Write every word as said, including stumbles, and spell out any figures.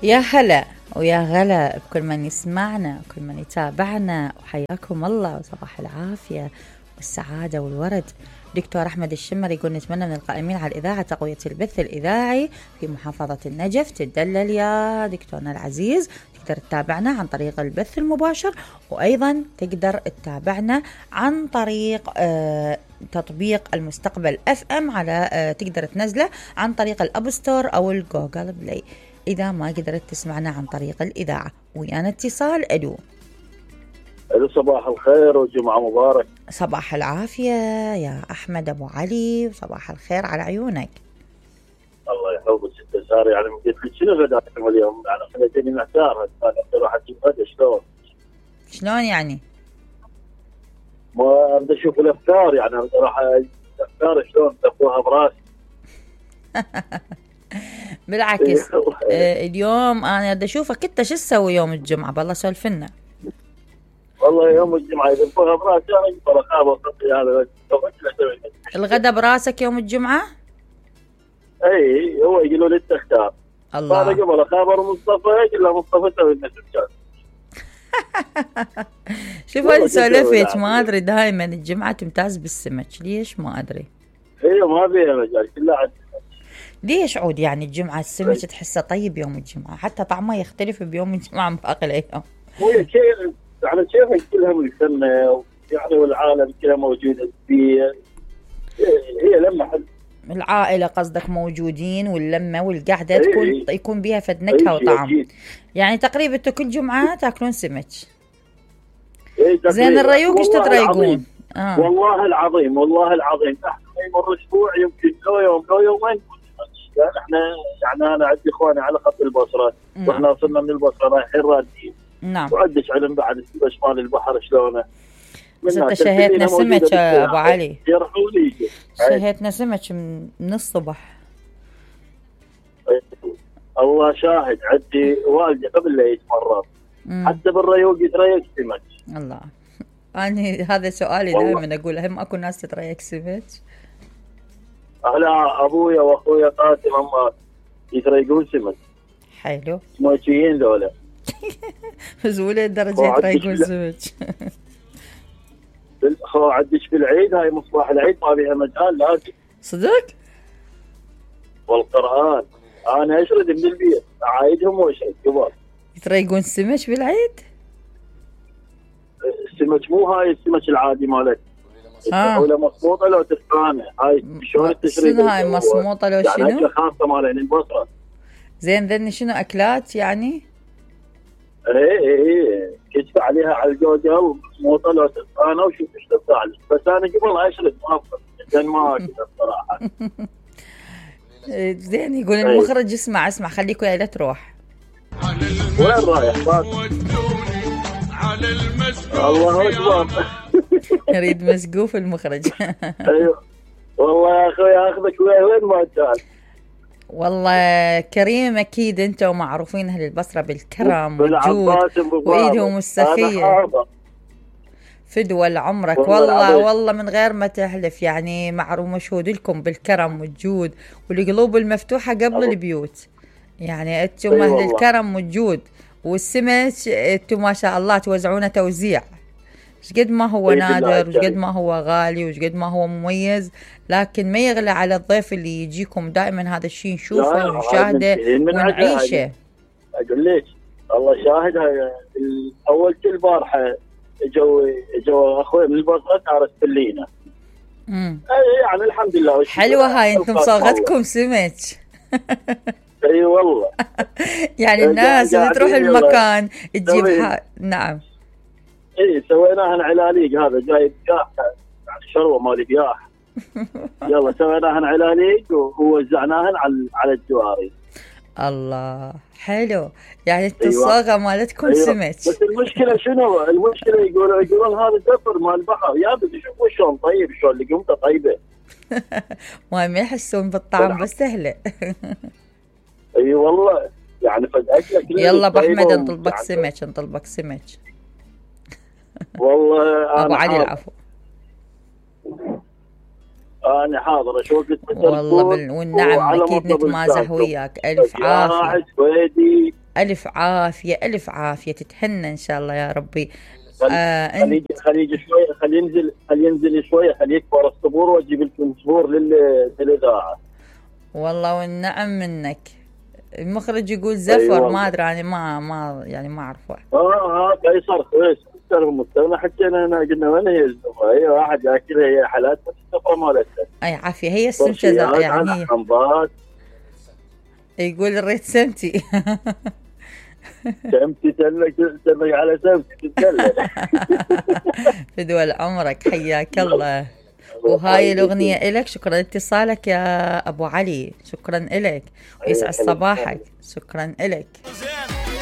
يا هلا ويا غلا بكل من يسمعنا وكل من يتابعنا، وحياكم الله وصباح العافية والسعادة والورد. دكتور أحمد الشمر يقول نتمنى من القائمين على الإذاعة تقوية البث الإذاعي في محافظة النجف. تدلل يا دكتورنا العزيز، تقدر تتابعنا عن طريق البث المباشر، وأيضا تقدر تتابعنا عن طريق آه تطبيق المستقبل اف ام على آه تقدر تنزله عن طريق الاب ستور او الجوجل بلاي إذا ما قدرت تسمعنا عن طريق الإذاعة. ويانا اتصال. ألو ألو، صباح الخير وجمعة مبارك. صباح العافية يا أحمد أبو علي، وصباح الخير على عيونك. الله يحفظك ست سارة. يعني قلت لك شنو غداكم اليوم؟ يعني خليتني محتار، أنا راح أجيب غدا شلون؟ شلون يعني؟ ما أبدأ أشوف الأفكار، يعني راح الأفكار شلون تأخذها براسي. بالعكس آه اليوم أنا بدي أشوفك أنت شو تسوي يوم الجمعة. بالله سولفنا. والله يوم الجمعة إذا بقولها براسي أنا أجيب رقابة وصدقي هذا الغدا براسك يوم الجمعة؟ أي هو يقولوا لي تختار. الله. هذا قبل خبر مصطفى يقول له مصطفى سوي النسب كان. شوف هذه سولفت ما أدري، دائما الجمعة تمتاز بالسمك، ليش ما أدري. ايوه ما فيها مجال كلها عاد. ليش عود يعني الجمعة السمك تحسه طيب يوم الجمعة، حتى طعمه يختلف بيوم الجمعة عن باقي الأيام. هو شيء يعني شيء كلها من السنة يعني، والعالم كلها موجودة فيه، هي لما حد العائلة قصدك موجودين، واللمة والقعدة تكون ايه يكون بيها فد نكهة وطعم. ايه يعني تقريبا كل جمعة تاكلون سمك. ايه زين الريوق ايش تتريقون؟ آه. والله العظيم والله العظيم احنا يمر اسبوع يمكن لو يوم لو يومين يعني احنا يعني انا عندي اخواني على خط البصره، واحنا وصلنا من البصره رايحين رادين. نعم. وعندش علم بعد شمال البحر شلونه. بس انت شهيتنا سمك يا ابو علي. يرحولي شهيتنا سمك من الصبح. الله شاهد، عندي والدي قبل لا يجي مرات حتى بالريوق يتريق سمك. الله. أنا هذا سؤالي دائما أقول هم أكو ناس تتريق سمك. لا أبويا وأخويا قاسم هم يتريقون سمك. حلو. سمكيين ذولا. بس ولا درجة يتريقون سمك. خو عدش في العيد، هاي مصباح العيد ما فيها مجال لازم. صدق؟ والقرآن أنا أشرد من البيت عايدهم وأشرد كبار. يتريقون سمك بالعيد؟ السمك مو هاي السمك العادي مالك. اه ولا مصموطه لو تفهمها هاي شلون التشريح. شنو هاي مصموطه لو شنو؟ يعني خاصه مالين البصره. زين ذني شنو اكلات يعني؟ ايه ايه ايه كتب عليها على الجوجل ومصموطه لو تفهمها وشوف ايش تطلع لك. بس انا قبل اشرب ما افهم زين ما اكل الصراحه. زين يقول المخرج اسمع اسمع خليك وياي لا تروح. وين رايح؟ على المسقوف. الله اكبر. يريد مسقوف المخرج. ايوه والله يا اخوي اخذك وين ما انت. والله كريم اكيد انت ومعروفين اهل البصره بالكرم والجود وايدهم السخيه. فدوى لعمرك والله والله, والله من غير ما تحلف يعني معروف مشهود لكم بالكرم والجود والقلوب المفتوحه قبل أوه. البيوت يعني انتم أيوة اهل والله. الكرم والجود والسمك انتم ما شاء الله توزعونه توزيع. ايش قد ما هو نادر وش قد ما هو غالي وش قد ما هو مميز، لكن ما يغلى على الضيف اللي يجيكم دائما. هذا الشيء نشوفه ونشاهده ونعيشه. اقول لك الله شاهد، هاي اول كل بارحه اجوا اجوا اخوي من البصره عرس بلينا. امم يعني الحمد لله. حلوه هاي انتم صاغتكم سمك. اي والله. يعني الناس اللي تروح المكان تجيب ح... نعم. اي سويناها علاليق، هذا جايب قاح يعني شروه مال قياح. يلا سويناها علاليق ووزعناها على على الجواري. الله حلو، يعني الصاغه مالتكم أيوة. سمك. بس المشكله شنو؟ المشكله يقولون يقولون هذا دفر مال البحر. يا بس شوفوا شلون طيب، شلون لقمته طيبه. ما ما يحسون بالطعم بس سهله. اي والله يعني فد اكلك. يلا ابو احمد نطلبك يعني سمك نطلبك سمك. والله ابو علي العفو. انا حاضر اشوفك والله بال... والنعم اكيد نتمازح وياك. الف عافيه الف عافيه الف عافيه، تتهنى ان شاء الله يا ربي. آه خليه خليه شوي، خليه ينزل خليه ينزل شوي، خليه يكبر الصبور واجيب لكم صبور للاذاعه. والله والنعم منك. المخرج يقول زفر. أيوة. ما ادري يعني ما ما يعني ما اعرفه. اه اه قيصر كويس. المستوى حكينا هنا قلنا وين هي الزفره؟ هي واحد ياكلها، هي حالات بس الزفره مالتها. اي عافيه، هي السمكه يعني حمضات. يقول الريت سمتي. سمتي تلك تلك على سمتي تتكلم. فدوى عمرك، حياك الله. وهاي الأغنية إلك. شكرا لاتصالك يا أبو علي، شكرا إلك ويسعد صباحك. شكرا إلك.